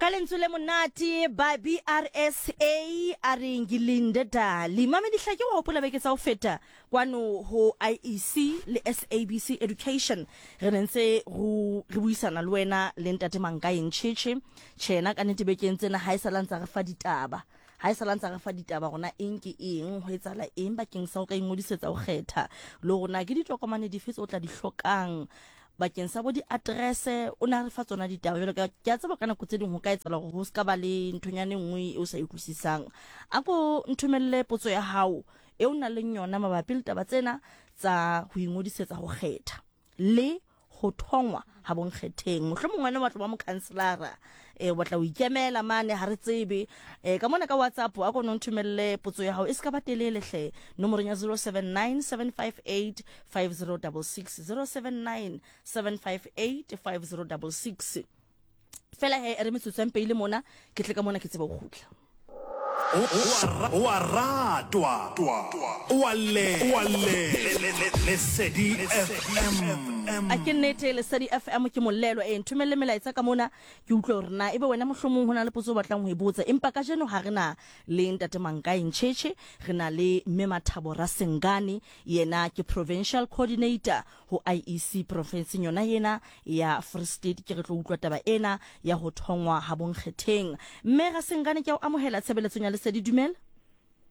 Ka lentswe le monate ba BRSA a re ngilinde dali. Mamedihla ke wa hopola beke tsa ho feta kwano ho IEC le SABC Education re ne ntse re buisana le wena le ntate Mankae Ncheche. Tjhe yena ka nnete bekeng tsena ha e sala ntsa re fa ditaba. Ha e sala ntsa re fa ditaba rona eng ke eng ho etsahala eng bakeng sa ho ka ingodisetsa ho kgetha le hore na ke ditokomane dife tse o tla di hlokang bakeng sa bo diaterese. O ne a re fa tsona ditaba jalo ka ke a tseba ka nako tse ding ho ka etsahala hore ho se ka ba le nthonyana e nngwe e o sa e utlwisisang. A ko nthomelle potso ya hao e o nang leng yona mabapi le taba tsena tsa ho ingodisetsa ho kgetha le ho thongwa ha bonkgetheng. Mohlomong wena o batla ba mokhanselara, o batla ho ikemela mane, ha re tsebe. Ka mona ka WhatsApp a ko no nthomelle potso ya hao e se ka ba telele hle, nomorong ya 079 758 5066, 079 758 5066. Fela he re metsotso ya mpeile mona, ke tle ka mona ke tsebe ho kgutla. O a ratwa, o a llelwa, Lesedi FM. A ke nnete, Lesedi FM ke molelo. Ee, nthomelle melaetsa ka mona ke utlwe hore na ebe wena mohlomong ho na le potso o batlang ho e botsa. Empa kajeno ha re na le Ntate Mankae Ncheche, re na le Mme Mathabo Rasengane, yena ke Provincial Coordinator ho IEC porofenseng yona ena ya Free State. Ke re tlo utlwa taba ena ya ho thongwa ha bonkgetheng. Mme Rasengane, ke a o amohela tshebeletsong ya Lesedi. Dumela.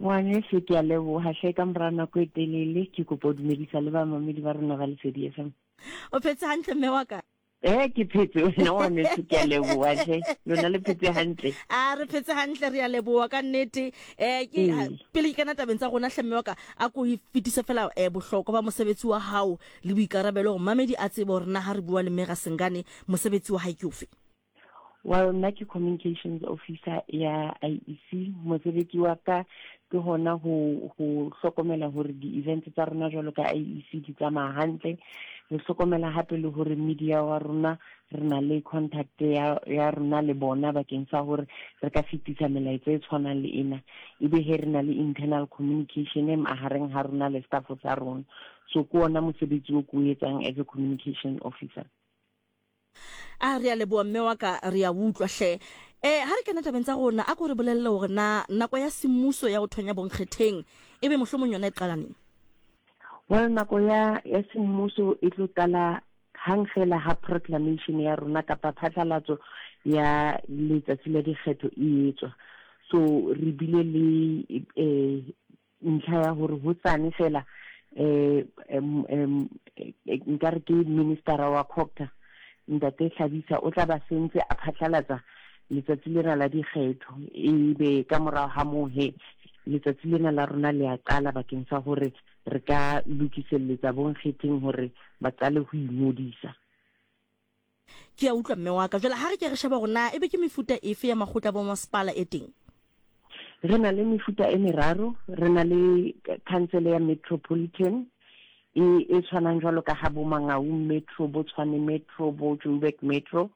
Ngwaneso, ke a leboha hle ka mora nako e telele. Ke kopa ho dumedisa le bamamedi ba rona ba Lesedi FM. O phetse hantle mme wa ka? Eh, ke phetse wena ngwaneso, ke a leboha hle. Lona le phetse hantle? A re phetse hantle, re a leboha ka nnete. Ke pele ke kena tabeng tsa rona hle mme wa ka, a ko e fetise fela bohlokwa ba mosebetsi wa hao le boikarabelo hore mamedi a tsebe hore na ha re bua le mme Rasengane mosebetsi wa hae ke ofe. Well, nna ke communications officer ya IEC. Mosebetsi wa ka ke hona ho ho hlokomela hore di-events tsa rona jwalo ka IEC di tsamaya hantle. Re hlokomela hape le hore media wa rona re na le contact ya, ya rona le bona bakeng sa hore re ka fetisa melaetsa e tshwanang le ena. Ebe he re na le internal communication e mahareng ha rona le staff sa rona. So ke ona mosebetsi o ke o etsang as a communication officer. A re a leboha mme wa ka, re a utlwa hle. Eh, ha re kena tabeng tsa rona, a ko re bolelle hore na nako ya semmuso ya ho thonya bonkgetheng ebe mohlomong yona e qala neng? Well, nako ya ya semmuso e tlo qala hang fela ha proclamation ya rona kapa phatlalatso ya letsatsi la dikgetho e etswa. So re bile le eh ntlha ya hore hotsane fela eh nkare ke ministera wa Cogta ntate Hlabisa o tla ba sentse a phatlalatsa letsatsi lena la dikgetho, ebe ka morago ga moo he letsatsi lena la rona le a qala bakeng sa hore re ka lokiselletsa bonkgetheng hore ba qale ho ingodisa. Ke a utlwa mme wa ka. Jwale ha re ke re sheba hore na ebe ke mefuta efe ya makgotla a bomasepala e teng. Re na le mefuta e meraro. Re na le khansele ya metropolitan e e tshwanang jwalo ka ha bo Mangaung Metro, bo Tshwane Metro, bo Joburg Metro.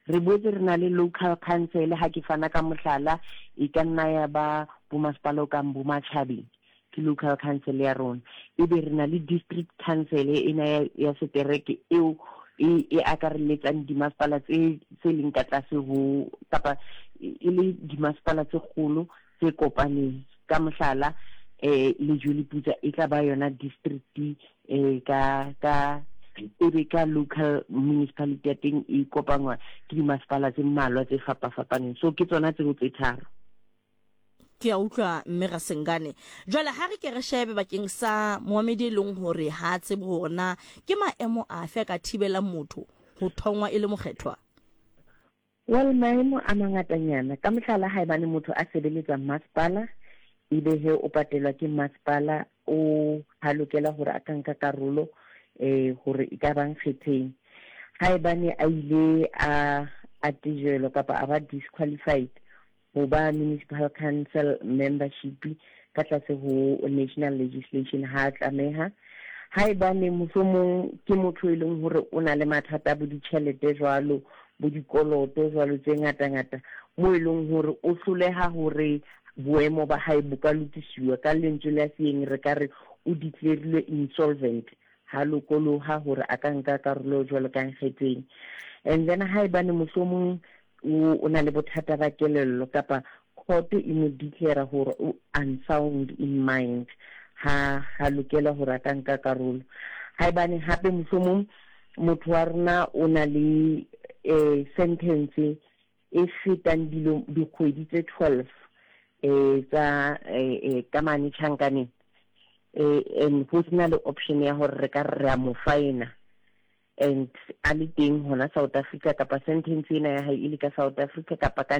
Re boetse re na le local council, ha ke fana ka mohlala, e ka nna ya ba bomasepala o kang bo Matjhabeng. ke local council ya rona. Ebe re na le district council ena ya, ya setereke eo e, e akarelletsang dimasepala tse tse leng ka tlase ho kapa e le dimasepala tse kgolo tse kopaneng. Ka mohlala, eh Lejweleputswa e tla ba yona district eh ka ka ebe ka local municipality ya teng e kopangwa ke dimasepala tse mmalwa tse fapafapaneng. So ke tsona tseo tse tharo. Ke a utlwa mme Rasengane. Jwale ha re ke re shebe bakeng sa moamedi e leng hore ha a tsebe hore na ke maemo afe a ka thibelang motho ho thongwa e le mokgethwa. Well, maemo a mangatanyana. Ka mohlala, haebane motho a sebeletsa masepala, ebe he o patelwa ke masepala, o ha lokela hore a ka nka karolo eh hore e ka bang kgetheng. Haebane a ile a a tejelwa kapa a ba disqualified ho ba municipal council membership ka tlase ho national legislation ha a tlameha. Haebane mohlomong ke motho e leng hore o na le mathata a bo ditjhelete jwalo, bo dikoloto jwalo tse ngata-ngata, mo e leng hore o hloleha hore boemo ba hae bo ka lokisiwa, ka lentswe la seeng re ka re o declarilwe insolvent, ha lokoloha hore a ka nka karolo jwalo ka nkgetheng. And then haebane mohlomong o o na le bothata ba kelello kapa court e mo declare hore o unsound in mind, ha ha lokela hore a ka nka karolo. Haebane hape mohlomong motho wa rona o na le eh, sentence e fetang dilo dikgwedi tse 12 eh, tsa eh, eh, ka mane tjhankaneng eh, and ho sena le option ya hore re ka re a mo faena and a le teng hona South Africa kapa sentence ena ya hae e le ka South Africa kapa ka.